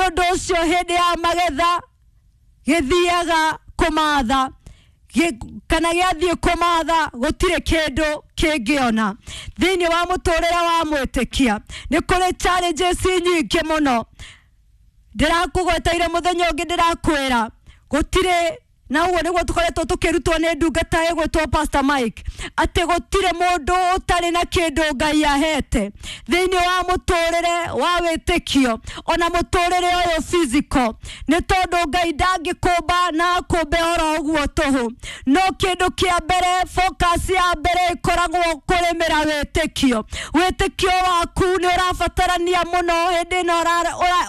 Mũndũ ũcio hĩndĩ ya magetha gĩthiaga kũmatha kana gĩathiĩ kũmatha gũtirĩ kĩndũ kĩngĩona. Thĩinĩ wa mũtũrĩre wa mwĩtĩkia nĩ kũrĩ challenges nyingĩ mũno. Ndĩrakũgweteire mũthenya ũngĩ, ndĩrakwĩra gũtirĩ, na ũguo nĩguo tũkoretwo tũkĩrutwo nĩ ndungata ĩgwĩtwo Pastor Mike, atĩ gũtirĩ mũndũ ũtarĩ na kĩndũ Ngai ahete thĩinĩ wa mũtũrĩre wa wĩtĩkio, ona mũtũrĩre ũyũ physical, nĩ tondũ Ngai ndangĩkũmba na akũmbe oro ũguo tũhũ. No kĩndũ kĩa mbere, focus ya mbere ĩkoragwo kũrĩmĩra wĩtĩkio. Wĩtĩkio waku nĩ ũrabatarania mũno hĩndĩ ĩno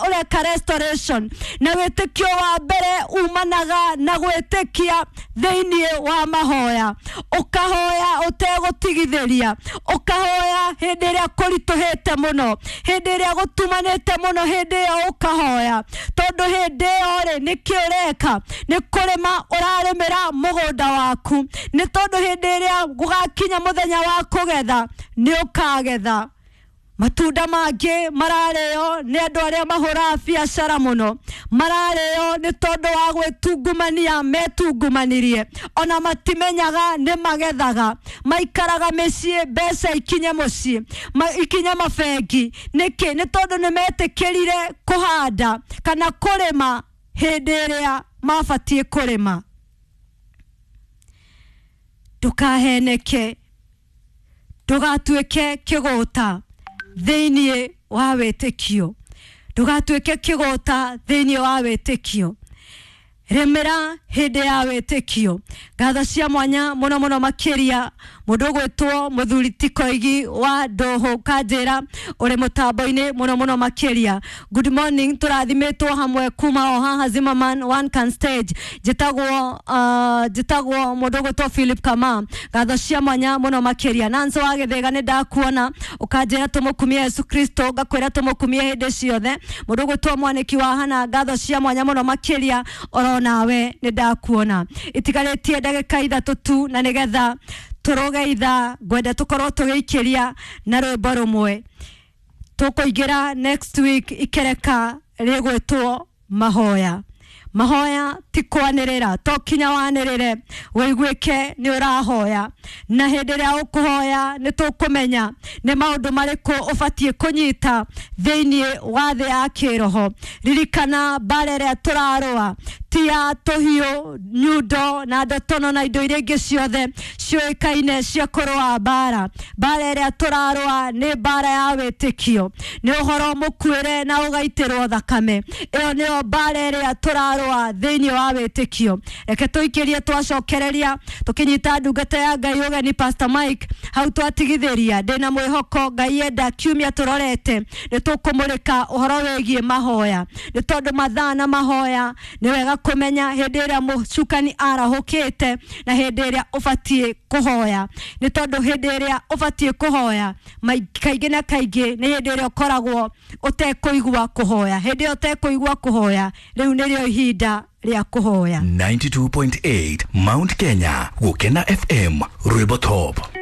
ũreka restoration, na wĩtĩkio wa mbere umanaga na gwĩtĩkia thĩinĩ wa mahoya. Ũkahoya ũtegũtigithĩria, ũkahoya hĩndĩ ĩrĩa kũritũhĩte mũno, hĩndĩ ĩrĩa gũtumanĩte mũno, hĩndĩ ĩyo ũkahoya, tondũ hĩndĩ ĩyo rĩ, nĩkĩ ũreka? Nĩ kũrĩma ũrarĩmĩra mũgũnda waku, nĩ tondũ hĩndĩ ĩrĩa gũgakinya mũthenya wa kũgetha, nĩ ũkagetha. Matunda mangĩ mararĩo nĩ andũ arĩa mahũraga biacara mũno, mararĩo nĩ tondũ wa gwĩtungumania metungumanirie, ona matimenyaga nĩ magethaga. Maikaraga mĩciĩ, mbeca ikinye mũciĩ, ikinye mabengi. Nĩkĩ? Nĩ tondũ nĩ metĩkĩrire kũhanda kana kũrĩma hĩndĩ ĩrĩa mabatiĩ kũrĩma. Ndũkaheneke, ndũgatuĩke kĩgũta thĩinĩ wa wĩtĩkio, ndũgatuĩke kĩgũta thĩinĩ wa wĩtĩkio. Rĩmĩra hĩndĩ ya wĩtĩkio. Ngatho cia mwanya mũno mũno makĩria mũndũ ũgwĩtwo mũthuri ti Koigi wa Ndũhũ Kanjĩra, ũrĩ mũtambo-inĩ mũno mũno makĩria. Good morning, tũrathimĩtwo hamwe kuma o haha Zimmerman One Can Stage. Njĩtagwo mũndũ ũgwĩtwo Philip Kama. Ngatho cia mwanya mũno makĩria. Nancy wa Gĩthĩga, nĩ ndakuona, ũkanjĩra tũmũkumie Yesu Kristo, ngakwĩra tũmũkumie hĩndĩ ciothe. Mũndũ ũgwĩtwo Mwanĩki wa Hana, ngatho cia mwanya mũno makĩria, oro nawe nĩ ndakuona. Itigarĩtie ndagĩka 3 tu, na nĩgetha tũrũge ithaa, ngwenda tũkorwo tũgĩikĩria na rwĩmbo rũmwe. Tũkũingĩra next week ikereka rĩgwĩtwo mahoya. Mahoya ti kwanĩrĩra, to kinya wanĩrĩre wĩiguĩke nĩ ũrahoya, na hĩndĩ ĩrĩa ũkũhoya nĩ tũkũmenya nĩ maũndũ marĩkũ ũbatiĩ kũnyita thĩinĩ wa thĩ ya kĩroho. Ririkana, mbara ĩrĩa tũrarũa ti ya tũhiũ, nyundo na ndotono na indo iria ingĩ ciothe ciũĩkaine cia kũrũa mbara. Mbara ĩrĩa tũrarũa nĩ mbara ya wĩtĩkio, nĩ ũhoro mũkuĩre na ũgaitĩrwo thakame. Ĩyo nĩyo mbara ĩrĩa tũrarũa thĩinĩ wa wĩtĩkio. Reke tũikĩrie, twacokereria tũkĩnyita ndungata ya Ngai ũgeni Pastor Mike hau twatigithĩria. Ndĩna mwĩhoko Ngai enda kiumia tũrorete nĩ tũkũmũrĩka ũhoro wĩgiĩ mahoya, nĩ tondũ mathaa na mahoya nĩ wega kũmenya hĩndĩ ĩrĩa mũcukani arahũkĩte na hĩndĩ ĩrĩa ũbatiĩ kũhoya, nĩ tondũ hĩndĩ ĩrĩa ũbatiĩ kũhoya kaingĩ na kaingĩ nĩ hĩndĩ ĩrĩa ũkoragwo ũtekũigua kũhoya. Hĩndĩ ĩyo ũtekũigua kũhoya, rĩu nĩrĩo ihinda rĩa kũhoya. 92.8 Mount Kenya, Gukena FM, Rwimbo Top.